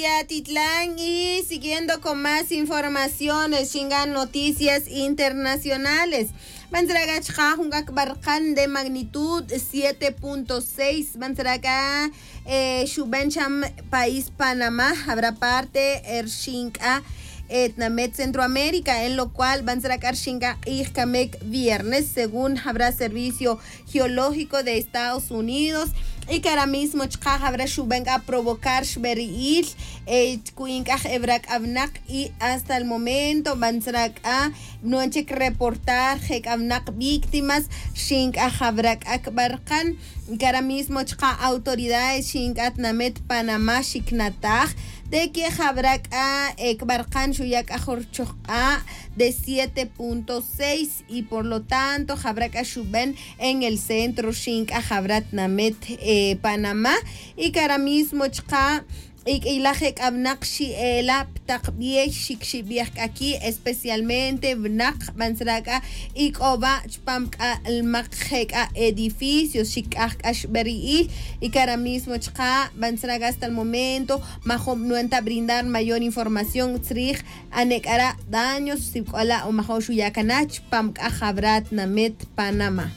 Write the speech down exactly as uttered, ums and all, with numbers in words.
Yatitlan y siguiendo con más informaciones, xingan noticias internacionales. Bantzra' k'a chqa' jun k'a kib'arqan de magnitud siete punto seis, bantzra' k'a eh, xuben cham país Panamá, habrá parte eh, rxin k'a eh, tnamet Centroamérica, en lo cual bantzra' k'a rxin k'a q'ij kamek viernes, según habrá servicio geológico de Estados Unidos. Y cara mismo chqa' habrá xuben k'a provocar xberi'il eh, ku'ink'aj ebra k'a bnaq, y hasta el momento bantzra' k'a nuan chik reportar je k'a bnaq víctimas, rxin k'a habrá k'a kib'arqan. Cara mismo chqa' autoridades rxin k'a tnamet Panamá xiknataj de que habrá k'a eh, kib'arqan xuya' k'a jun rchojq'a' de siete punto seis, y por lo tanto habrá k'a xuben en el centro rxin k'a habrá tnamet eh, Panamá. Y cara mismo chqa' y k'ilaj je k'a bnaq xi'ela' pi taq b'ey, xikxib'ej k'a ki', especialmente bnaq bantzra' k'a ik'oba' chpam k'a lmaq je k'a edificios, xik'aj k'a xb'eri'il. Y cara mismo chqa' bantzra' k'a hasta el momento majob' nuenta brindar mayor información tzrij ane' k'ara' daños sibk'ola' o majob' xuya' kana' chpam k'a jab'ra tnamet Panamá.